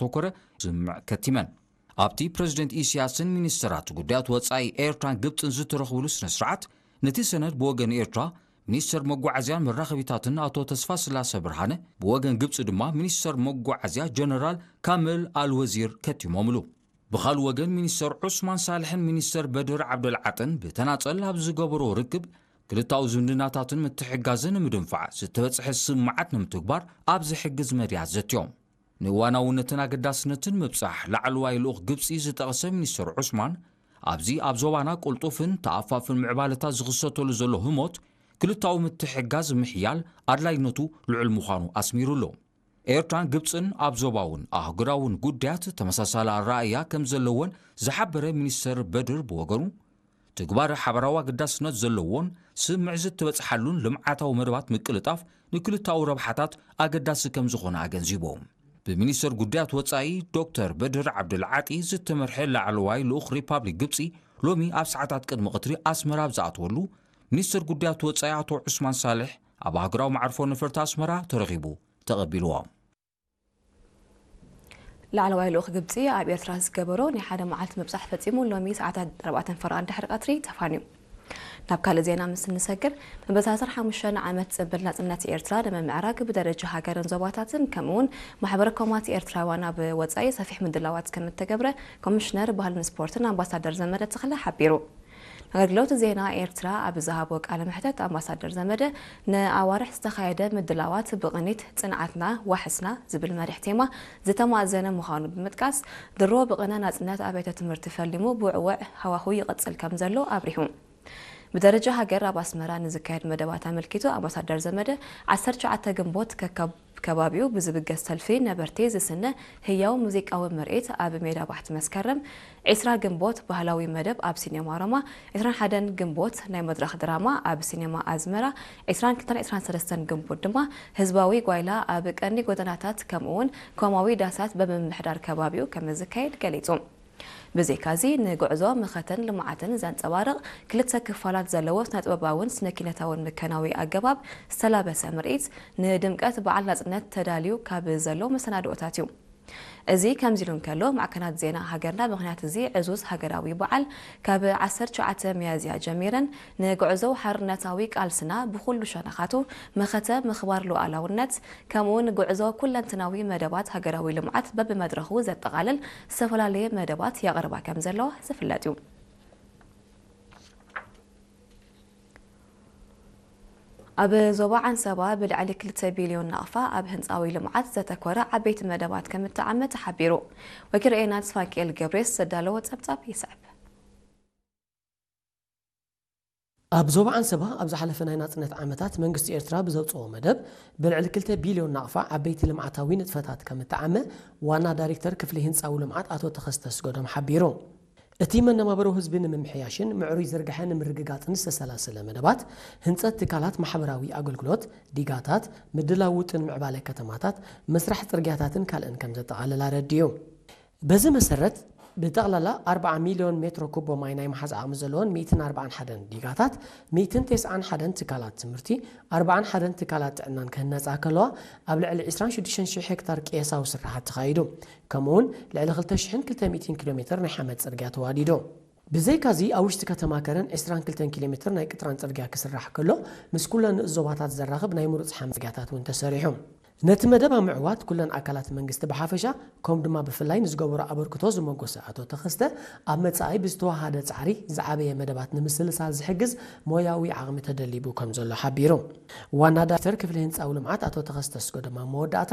ዝተኮረ ስምምዕ ከቲመን። ኣብቲ ፕረዚደንት ኢሳያስን ሚኒስተራት ጉዳያት ወጻኢ ኤርትራን ግብጽን ዝተረኽብሉ ስነ ስርዓት፣ ነቲ ሰነድ ብወገን ኤርትራ ሚኒስተር መጓዓዝያን መራኸቢታትን ኣቶ ተስፋስላሰ ብርሃነ፣ ብወገን ግብጺ ድማ ሚኒስተር መጓዓዝያ ጀነራል ካምል ኣልወዚር ከቲሞምሉ። ብኻልእ ወገን ሚኒስተር ዑስማን ሳልሕን ሚኒስተር በድር ዓብደልዓጥን ብተናጸል ኣብ ዝገበሮ ርክብ፣ ክልታዊ ዝምድናታትን ምትሕጋዝን ንምድንፋዕ ዝተበጽሐ ስምምዓት ንምትግባር ኣብ ዝሕግዝ መድያት ዘትዮም። ንእዋናውነትን ኣገዳስነትን ምብጻሕ ላዕለዋይ ልኡኽ ግብጺ ዝጠቐሰ ሚኒስተር ዑስማን፣ ኣብዚ ኣብ ዞባና ቅልጡፍን ተኣፋፍን ምዕባለታት ዝኽሰተሉ ዘሎ ህሞት፣ ክልታዊ ምትሕጋዝ ምሕያል ኣድላይነቱ ልዑል ምዃኑ ኣስሚሩሉ። ኤርትራን ግብጽን ኣብ ዞባውን ኣህጉራውን ጉዳያት ተመሳሳሊ ኣረኣእያ ከም ዘለወን ዝሓበረ ሚኒስተር በድር ብወገኑ፣ ትግባረ ሓበራዊ ኣገዳስነት ዘለዎን ስምምዕ ዝተበጽሓሉን ልምዓታዊ መደባት ምቅልጣፍ ንክልታዊ ረብሓታት ኣገዳሲ ከም ዝኾነ ኣገንዚቡ። ብሚኒስተር ጉዳያት ወጻኢ ዶክተር በድር ዓብዱልዓጢ ዝተመርሐ ላዕለዋይ ልኡኽ ሪፓብሊክ ግብጺ፣ ሎሚ ኣብ ሰዓታት ቅድሚ ቀትሪ ኣስመራ ኣብ ዝኣተወሉ፣ ሚኒስተር ጉዳያት ወጻኢ ኣቶ ዑስማን ሳልሕ ኣብ ኣህጉራዊ መዓርፎ ነፈርቲ ኣስመራ ተረኺቡ ተቐቢልዎ። ላዕለዋይ ልኡኽ ግብጺ ኣብ ኤርትራ ዝገበሮ ናይ ሓደ መዓልቲ ምብጻሕ ፈጺሙ፣ ሎሚ ሰዓታት ኣርባዕተን ፈረቓን ድሕሪ ቀትሪ ተፋንዩ። ናብ ካልእ ዜና ምስ እንሰግር፣ መበል ሰላሳን ሓሙሽተን ዓመት ጽንብል ናጽነት ኤርትራ ንምምዕራግ ብደረጃ ሃገርን ዞባታትን፣ ከምኡ'ውን ማሕበረ ኮማት ኤርትራውያን ኣብ ወጻኢ ሰፊሕ ምድላዋት ከም እተገብረ ኮሚሽነር ባህልን ስፖርትን ኣምባሳደር ዘመደ ተኽለ ሓቢሩ። ኣገልግሎት ዜና ኤርትራ ኣብ ዝሃቦ ቃለ መሕተት፣ ኣምባሳደር ዘመደ፣ ንኣዋርሕ ዝተኻየደ ምድላዋት ብቕኒት ጽንዓትና ዋሕስና ዝብል መሪሕ ቴማ ዝተማእዘነ ምዃኑ ብምጥቃስ፣ ድሮ ብቕነ ናጽነት ኣብያተ ትምህርቲ ፈሊሙ ብውዕወዕ ሃዋሁ ይቕጽል ከም ዘሎ ኣብሪሁ። ብደረጃ ሃገር ኣብ ኣስመራ ንዝካየድ መደባት ኣመልኪቱ፣ ኣምባሳደር ዘመደ፣ ዓሰርተ ትሽዓተ ግንቦት ከካብ ከባቢኡ ብዝብገስ ሰልፊ ነበርቲ ዝስነ ህያው ሙዚቃዊ ምርኢት ኣብ ሜዳ ባሕቲ መስከረም፣ ዕስራ ግንቦት ባህላዊ መደብ ኣብ ሲኔማ ሮማ፣ ዕስራን ሓደን ግንቦት ናይ መድረኽ ድራማ ኣብ ሲኔማ ኣዝመራ፣ ዕስራን ክልተን ዕስራን ሰለስተን ግንቦት ድማ ህዝባዊ ጓይላ ኣብ ቀንዲ ጎደናታት ከምኡ'ውን ኮማዊ ዳሳት ብምምሕዳር ከባቢኡ ከም ዝካየድ ገሊጹ። ብዘይካዚ፣ ንጉዕዞ መኸተን ልምዓትን ዘንጸባርቕ ክልተ ክፋላት ዘለዎ ስነ-ጥበባውን ስነ-ኪነታውን ምከናዊ ኣገባብ ዝተላበሰ ምርኢት፣ ንድምቀት በዓል ናጽነት ተዳልዩ ካብ ዘሎ መሰናድኦታት እዩ። እዚ ከምዚ ኢሉ እንከሎ፣ ማዕከናት ዜና ሃገርና ምኽንያት እዚ ዕዙዝ ሃገራዊ በዓል፣ ካብ ዓሰርተ ትሽዓተ ሚያዝያ ጀሚረን ንጉዕዞ ሓርነታዊ ቃልስና ብኹሉ ሸነኻቱ መኸተ ምኽባር ሉዓላውነት፣ ከምኡ'ውን ጉዕዞ ኩለንትናዊ መደባት ሃገራዊ ልምዓት በብመድረኹ ዘጠቓልል ዝተፈላለየ መደባት የቕርባ ከም ዘለዋ ዝፍለጥ እዩ። ኣብ ዞባ ዓንሰባ ብልዕሊ ክልተ ቢልዮን ናቕፋ ኣብ ህንጻዊ ልምዓት ዘተኮረ ዓበይቲ መደባት ከም እተዓመ ተሓቢሩ። ወኪል ርኤና ተስፋንኪኤል ገብሬስ ዘዳለዎ ጸብጻብ ይስዕብ። ኣብ ዞባ ዓንሰባ ኣብ ዝሓለፈ ናይ ናጽነት ዓመታት መንግስቲ ኤርትራ ብዘውጽኦ መደብ ብልዕሊ ክልተ ቢልዮን ናቕፋ ዓበይቲ ልምዓታዊ ንጥፈታት ከም እተዓመ ዋና ዳይሬክተር ክፍሊ ህንጻዊ ልምዓት ኣቶ ተኸስተ ኣስገዶም ሓቢሩ። እቲ መነባብሮ ህዝቢ ንምምሕያሽን ምዕሩይ ዝርግሐ ንምርግጋጽን ዝተሰላሰለ መደባት ህንጸት ትካላት ማሕበራዊ ኣገልግሎት፣ ዲጋታት፣ ምድላው ውጥን ምዕባለ ከተማታት፣ ምስራሕ ጽርግያታትን ካልእን ከም ዘጠቓልል ኣረዲኡ። በዚ መሰረት፣ ብጠቕላላ ኣርብዓ ሚልዮን ሜትሮ ኩቦ ማይ ናይ ምሓዝ ዓቕሚ ዘለወን ሚእትን ኣርባዓን ሓደን ዲጋታት፣ ሚእትን ተስዓን ሓደን ትካላት ትምህርቲ፣ ኣርባዓን ሓደን ትካላት ጥዕናን ክህነጻ ከለዋ፣ ኣብ ልዕሊ ዕስራን ሽዱሽተን ሽሕ ሄክታር ቅየሳዊ ስራሓት ተኻይዱ። ከምኡ'ውን ልዕሊ ክልተ ሽሕን ክልተ ሚእትን ኪሎ ሜትር ናይ ሓመድ ጽርግያ ተዋዲዱ። ብዘይካዚ፣ ኣብ ውሽጢ ከተማ ከረን ዕስራን ክልተን ኪሎ ሜትር ናይ ቅጥራን ጽርግያ ክስራሕ ከሎ፣ ምስ ኩለን ንኡስ ዞባታት ዘራኽብ ናይ ምሩጽ ሓመድ ጽርግያታት እውን ተሰሪሑ። ነቲ መደብ ኣብ ምዕዋት ኩለን ኣካላት መንግስቲ ብሓፈሻ፣ ከምኡ ድማ ብፍላይ ንዝገበሮ ኣበርክቶ ዝመጎሰ ኣቶ ተኸስተ፣ ኣብ መጻኢ ብዝተወሃደ ጻዕሪ ዝዓበየ መደባት ንምስልሳል ዝሕግዝ ሞያዊ ዓቕሚ ተደሊቡ ከም ዘሎ ሓቢሩ። ዋና ዳይሬክተር ክፍሊ ህንጻዊ ልምዓት ኣቶ ተኸስተ ኣስገዶም ኣብ መወዳእታ፣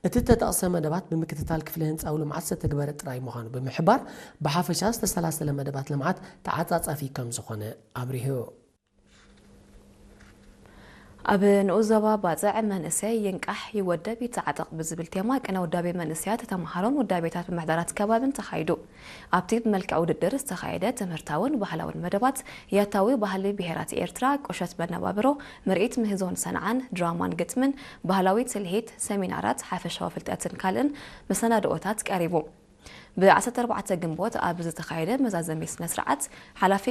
እቲ እተጠቕሰ መደባት ብምክትታል ክፍሊ ህንጻዊ ልምዓት ዝተተግበረ ጥራይ ምዃኑ ብምሕባር፣ ብሓፈሻ ዝተሰላሰለ መደባት ልምዓት ተዓጻጻፊ ከም ዝኾነ ኣብሪሁ። ኣብ ንኡስ ዞባ ባጽዕ መንእሰይ ይንቃሕ፣ ይወደብ፣ ይተዓጠቕ ብዝብል ቴማ ቅነ ውዳቤ መንእሰያት ተመሃሮን ውዳቤታት ምምሕዳራት ከባብን ተኻይዱ። ኣብቲ ብመልክዕ ውድድር ዝተኻየደ ትምህርታውን ባህላውን መደባት፣ ያታዊ ባህሊ ብሄራት ኤርትራ፣ ቁሸት መነባብሮ፣ ምርኢት ምህዞን ሰንዓን፣ ድራማን ግጥምን፣ ባህላዊ ትልሂት፣ ሰሚናራት፣ ሓፈሻዊ ፍልጠትን ካልእን መሰናድኦታት ቀሪቡ። ብ ዓሰርተ ኣርባዕተ ግንቦት ኣብ ዝተኻየደ መዛዘሚ ስነ ስርዓት፣ ሓላፊ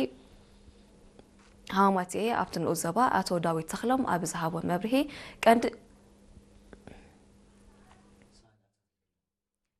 ሃማቴ ኣብቲ ንኡስ ዞባ ኣቶ ዳዊት ተኽሎም ኣብ ዝሃቦ መብርሂ፣ ቀንዲ